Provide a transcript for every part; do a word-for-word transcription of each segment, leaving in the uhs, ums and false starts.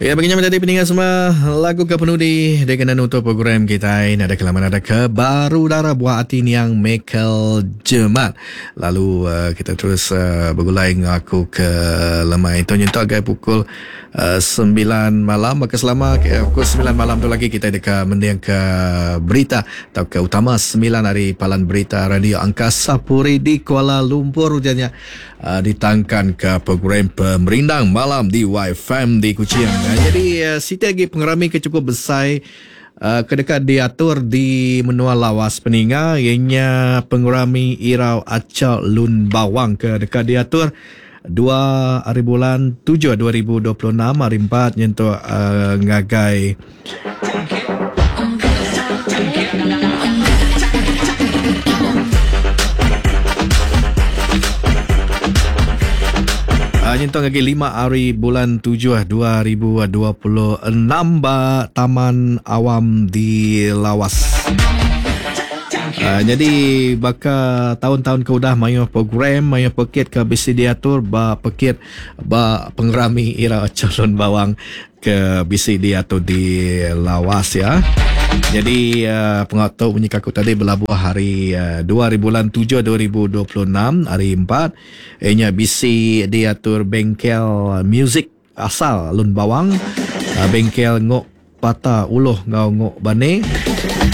Ya, begini menjadi peninggal semua lagu ke penudi dia kena nutup program kita ini ada kelaman ada ke baru darah buah hati niang Michael Jemat. Lalu uh, kita terus uh, bergulai ngaku ke lemai itu nyentuh agak pukul uh, sembilan malam. Maka selama uh, pukul sembilan malam tu lagi kita dekat mendiang ke berita atau ke utama sembilan hari palan berita Radio Angkasa Puri di Kuala Lumpur ujarnya uh, ditangkan ke program pemerindang malam di Y F M di Kuching. Jadi uh, siti lagi pengerami ke cukup besar uh, kedekat diatur di Menua Lawas Peninga ianya pengerami Irau Acau Lun Bawang ke dekat diatur dua hari bulan tujuh dua ribu dua puluh enam hari empat nyentuh uh, ngagai nyentuh lagi lima hari bulan tujuh dua ribu dua puluh enam ba Taman Awam di Lawas. Uh, jadi baka tahun-tahun ke udah mayu program mayu pekit ke bisi diatur ba pekit ba pengerami Irau Acau Lun Bawang ke bisi diatur di Lawas ya. Jadi uh, pengatur bunyi kaku tadi berlabuh hari uh, dua hari bulan tujuh dua ribu dua puluh enam hari empat ianya bisi diatur bengkel muzik asal Lun Bawang, uh, bengkel ngok pata uluh ngau ngok bane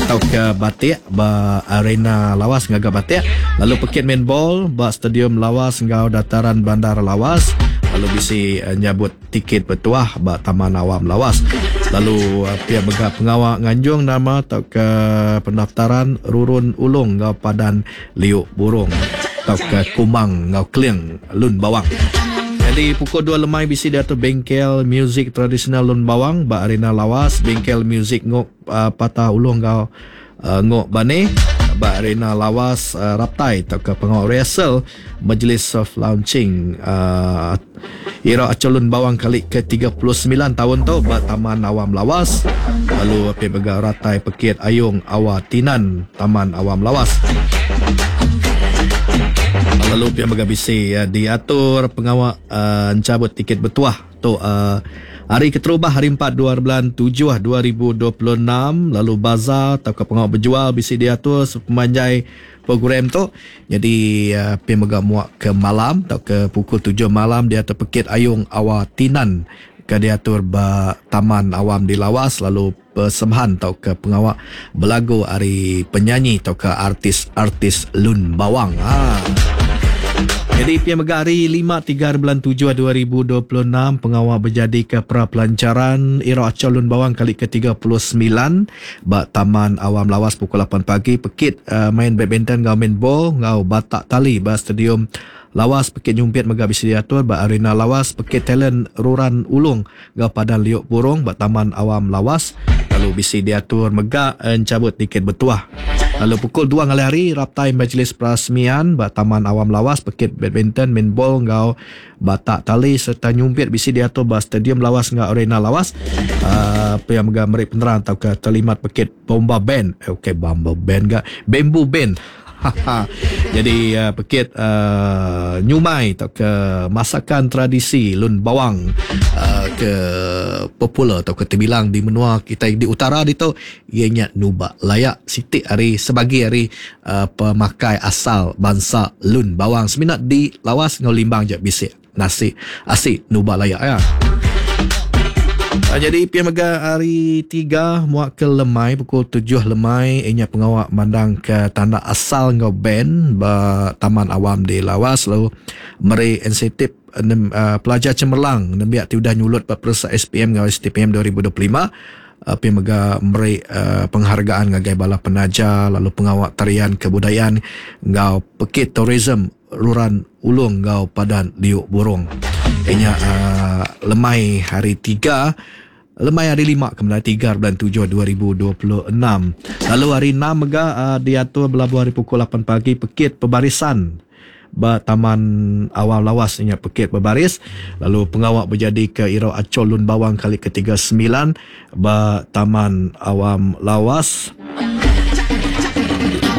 atau ke batik ba arena Lawas ngaga batik, lalu pekit main ball ba stadium Lawas ngau dataran bandar Lawas, lalu bisi uh, nyabut tiket bertuah ba Taman Awam Lawas, lalu uh, pihak mega pengawal nganjung nama atau ke pendaftaran rurun ulung ngau padan liuk burung atau ke kumang ngau keling Lun Bawang. Jadi pukul dua lemai bisi diatur bengkel muzik tradisional Lun Bawang ba arena Lawas, bengkel muzik ngok uh, patah ulung ngau uh, ngok bane ba arena Lawas, uh, raptai atau ke pengawal rehearsal majlis soft launching uh, Irau Acau Lun Bawang kali ke tiga puluh sembilan tahun tu ba Taman Awam Lawas, lalu api mega ratai pekit Ayung Awa Tinan Taman Awam Lawas. Lalu pihak mega bisi uh, diatur pengawal uh, encabut tiket bertuah tu uh, hari keterubah hari empat dua bulan tujuh dua ribu dua puluh enam, lalu bazar atau ke pengawal berjual bisi diatur sepanjang program tu. Jadi uh, pihak mega muak ke malam atau ke pukul tujuh malam diatur pekit Ayung Awa Tinan ke diatur ba Taman Awam di Lawas, lalu persembahan atau ke pengawal belagu hari penyanyi atau ke artis-artis Lun Bawang. Ha. Jadi P M Mega hari lima tiga bulan tujuh dua ribu dua puluh enam pengawal berjadi ke pra pelancaran Irau Acau Lun Bawang kali ke tiga puluh sembilan ba Taman Awam Lawas pukul lapan pagi, pekit uh, main badminton ngau main ball ngau batak tali ba Stadium Lawas, pekit nyumpit mega bisi diatur ba Arena Lawas, pekit talent Ruran Ulung ngau Padan Liuk Burung ba Taman Awam Lawas, lalu bisi diatur mega encabut tiket bertuah. Lalu pukul dua ngalih hari raptai majlis perasmian ba Taman Awam Lawas, pekit badminton, main ball ngau batak tali serta nyumpit bisi diatur ba Stadium Lawas ngau Arena Lawas. Uh, pihak mega meri penerang atau ke terlimat pekit bomba band. Eh, okey bomba band ga bamboo band. Jadi uh, pekit uh, nyumai atau ke masakan tradisi Lun Bawang uh, ke popular atau ke terbilang di menua kita di utara di tu ianya nubak layak sitik hari sebagi hari uh, pemakai asal bangsa Lun Bawang seminat di Lawas ngau Limbang je bisik nasi asik nubak layak ya. Jadi P M Mega hari tiga muak ke lemai pukul tujuh lemai ianya pengawak mandang ke tanda asal ngau band ba Taman Awam di Lawas, lalu meri insentif uh, pelajar cemerlang nembiak ti udah nyulut ba peresa S P M ngau S T P M dua ribu dua puluh lima. Uh, P M Mega meri uh, penghargaan ngagai bala penaja, lalu pengawak tarian kebudayaan ngau pekit tourism Ruran Ulung ngau Padan Liuk Burung. Ianya uh, lemai hari tiga, lemai hari lima kemudian tiga bulan tujuh dua ribu dua puluh enam. Lalu hari enam mega uh, diatur berlabuh hari pukul lapan pagi pekit pebarisan ba Taman Awam Lawas ianya pekit berbaris, lalu pengawak berjadi ke Irau Acau Lun Bawang kali ke tiga sembilan ba Taman Awam Lawas.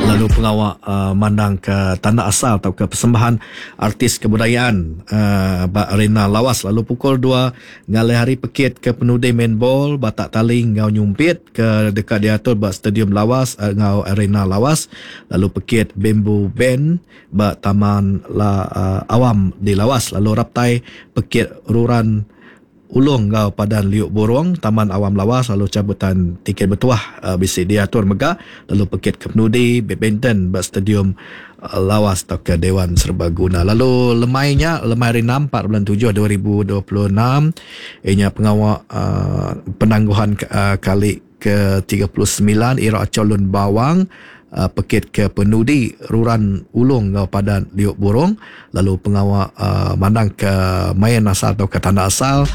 Lalu pengawak uh, mandang ke tanda asal atau ke persembahan artis kebudayaan uh, ba arena Lawas. Lalu pukul dua ngalih hari pekit ke penudai main ball batak tali ngau nyumpit ke dekat diatur ba Stadium Lawas uh, ngau Arena Lawas. Lalu pekit bamboo band ba Taman La, uh, Awam di Lawas. Lalu raptai pekit ruran Ulung ngau Padan Liuk Burung Taman Awam Lawas. Lalu cabutan tiket bertuah uh, bisi diatur mega. Lalu pekit ke penudi badminton ba Stadium uh, Lawas atau ke Dewan Serbaguna. Lalu lemainya lemai hari enam empat bulan tujuh dua ribu dua puluh enam ianya pengawak uh, penangguhan uh, kali ke tiga puluh sembilan Irau Aco Lun Bawang uh, pekit ke penudi Ruran Ulung ngau Padan Liuk Burung. Lalu pengawak uh, mandang ke main asal atau ke tanda asal.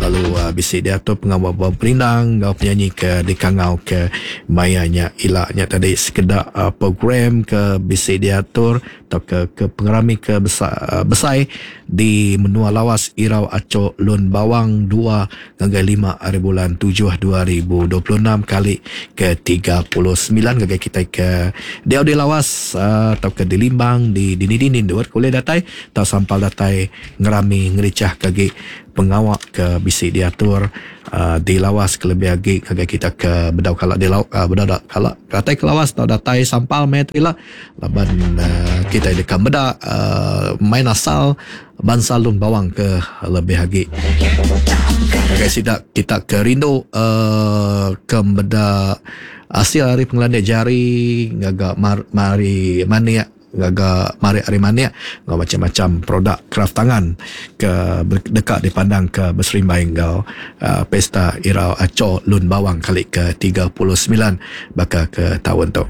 Lalu uh, bisi diatur pengawak berperindang ngau penyanyi ke dikangau ke mayanya ilaknya tadi sekedar uh, program ke bisi diatur atau ke, ke pengerami ke besar, uh, besai di Menua Lawas Irau Aco Lun Bawang dua hingga lima hari bulan tujuh dua ribu dua puluh enam kali ke tiga puluh sembilan gagai kita ke dia di Lawas uh, atau ke di Limbang di dini-dini dua boleh datai atau sampal datai ngerami ngericah kagi pengawak ke bisi diatur uh, di Lawas kelebih lagi kagai kita ke bedau kalak di lauk uh, bedau dak kalak datai ke Lawas atau datai sampal mai tu laban uh, kita dekat beda uh, main asal bangsa Lun Bawang ke lebih lagi kagai sidak kita ke rindu uh, ke beda hasil hari pengelandik jari ngagak mar, mari maniak gagak mari hari maniak ngau macam-macam produk kraft tangan ke dekat dipandang ke berserimbai ngau uh, pesta Irau Aco Lun Bawang kali ke tiga puluh sembilan bakal ke tahun tu.